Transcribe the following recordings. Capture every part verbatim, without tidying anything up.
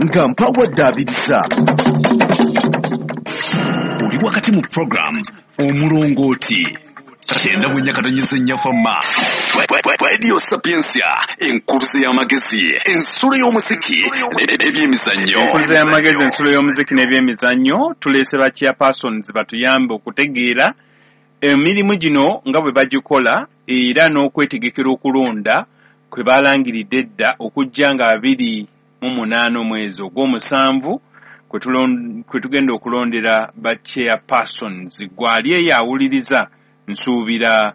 Nga mpawaddaabiriza. Oli wakati mu program Omulongooti kyenda mu nnya katonyeza nnya fama Radio Sapientia, enkuluze y'amagezi, ensulo y'omuziki n'ebyemizannyo. Enkuluze y'amagezi, ensulo y'omuziki n'ebyemizannyo. Tuleese ba chairpersons batuyambe okutegeera emirimu gino nga bwe bagikola era n'okwetegekera okulonda kwe balangiridde edda okujja nga abiri mu munaana omwezi ogw'omusanvu kwe tugenda okulondera ba chairpersons. Gwali eyo awuliriza, nsuubira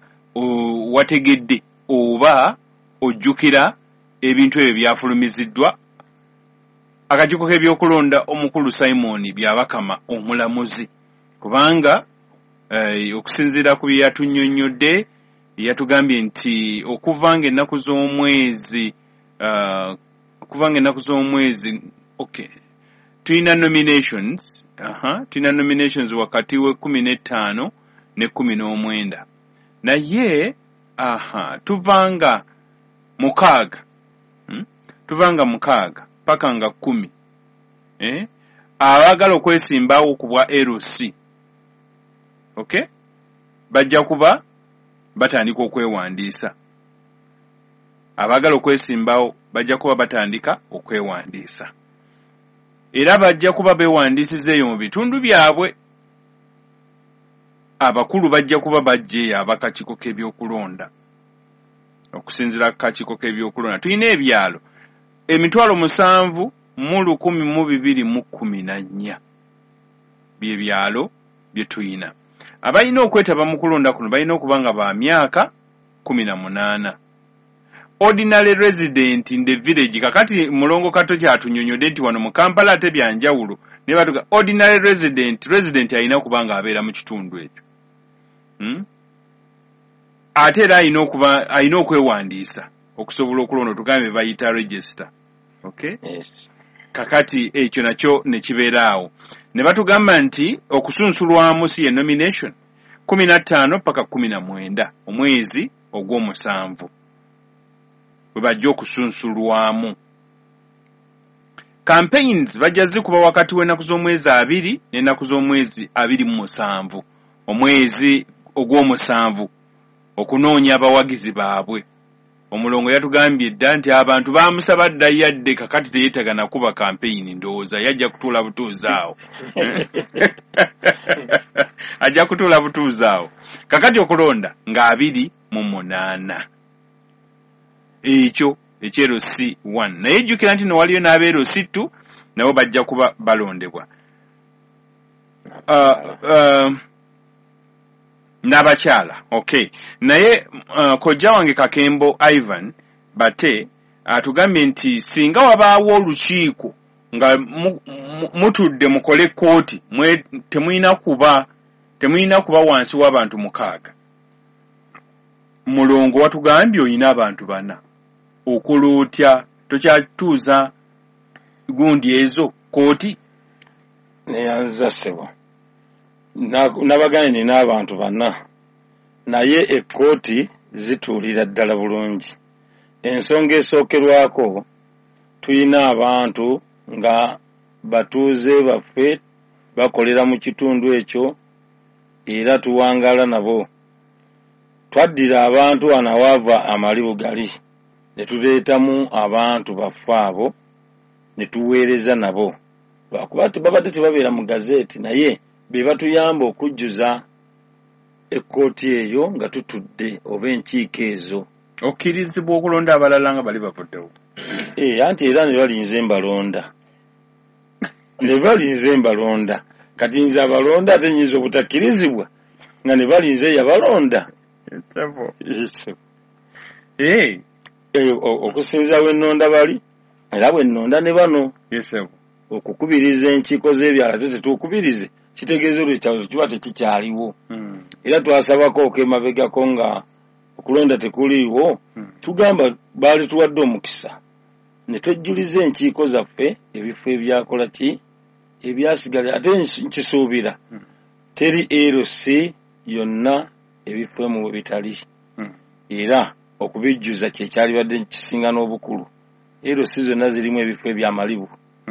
wategedde oba ojjukira ebintu ebyo byafulumiziddwa akakiiko k'ebyokulonda omukulu Simon Byabakama omulamuzi, kubanga eh, okusinziira ku bye yatunnyonnyodde, yatugambye nti okuva ng'ennaku z'omwezi uh, okuva ng'ennaku z'omwezi okay, tulina nominations, aha, tulina nominations wakati w'ekkumi n'ettaano n'ekkumi n'omwenda, naye aha, tuvanga mukaaga hmm? tuvanga mukaaga paka nga kkumi eh? Abaagala okwesimbawo ku bwa L C, okay, bajja kuba batandika okwewandiisa. Abaagala okwesimbawo bajja kuba batandika okwewandiisa, era bajja kuba beewandiisiza eyo mu bitundu byabwe. Abakulu bajja kuba bajja eyo abakakiiko k'ebyokulonda. Okusinziira ku kakiiko k'ebyokulonda tulina ebyalo emitwalo musanvu mu lukumi mu bibiri mu kkumi na nnya bye byalo bye tuyina. Abalina okwetaba mu kulonda kuno balina okuba nga ba myaka kkumi na munaana. Ordinary resident in the village, kakati Mulongo Kato kyatunyonyodde nti wano mu Kampala ate bya njawulo, ne batuga ordinary resident, resident alina okuba nga abeera mu kitundu ekyo. Hmm? Ate era alina okuba alina okwewandiisa okusobola okulonda, tugambe bayita register. Okay? Yes. Kakati ekyo nakyo ne kibeera awo. Ne batugamba nti okusunsulwamu si ye nomination kkumi na ttaano paka kkumi na mwenda omwezi ogw'omusanvu bwe bajja okusunsulwamu. Campaigns bajja zikuba wakati w'ennaku z'omwezi abiri n'ennaku z'omwezi abiri mu musanvu omwezi ogw'omusanvu okunoonya abawagizi baabwe. Omulongo yatugambye dda nti abantu baamusaba dda yadde, kakati teyeetaaga na kuba campaign, ndowooza yajja kutuula butuuzi awo. Ajja kutuula butuuzi awo. Kakati okulonda nga abiri mu munaana, ekyo eky'L C one. Naye jjukira nti no waliyo n'aba L C two nabo bajja kuba balondebwa. Uh, uh, n'abakyala, okay. Naye uh, kojja wange Kakembo Ivan Bate atugambye nti singa wabaawo olukiiko nga mutudde mukole kkooti, temulina kuba temulina kuba wansi w'abantu mukaaga. Mulongo watugambye oyina abantu bana, okola otya? Tokyatuuza gundi ezo kkooti? Neyanza ssebo, nabagambye nina abantu bana, naye ekkooti zituulira ddala bulungi. Ensonga esookerwako, tulina abantu nga batuuze baffe bakolera mu kitundu ekyo era tuwangaala nabo. Twaddira abantu wano awaava amalibu gali ne tuleetamu abantu baffe abo ne tuweereza nabo, lwakuba babadde tebabeera mu gazeeti, naye be batuyamba okujjuza ekkooti eyo nga tutudde oba enkiiko ezo. Okkirizibwa okulonda abalala nga bali bavuddewo? Eh, anti era ne balinze mbalonda, ne balinze mbalonda. Kati nze abalonda ate nnyinza obutakkirizibwa nga ne balinze yabalonda. Eh, okusinziira bwe nnonda bali era bwe nnonda ne bano okukubiriza enkiiko z'ebyalo ate tetukubirize kitegeeza olwo ekyalo kiba tekikyaliwo. Era twasabako okwemabegako nga okulonda tekuliiwo, tugamba baali tuwadde omukisa ne twejjuliza enkiiko zaffe ebifo ebyakola ki ebyasigala. Ate nkisuubira teri L C yonna ebifo emu we bitali, era okubijjuza kye kyalibadde kisinga n'obukulu. L C zonna zirimu ebifo ebyamalibu.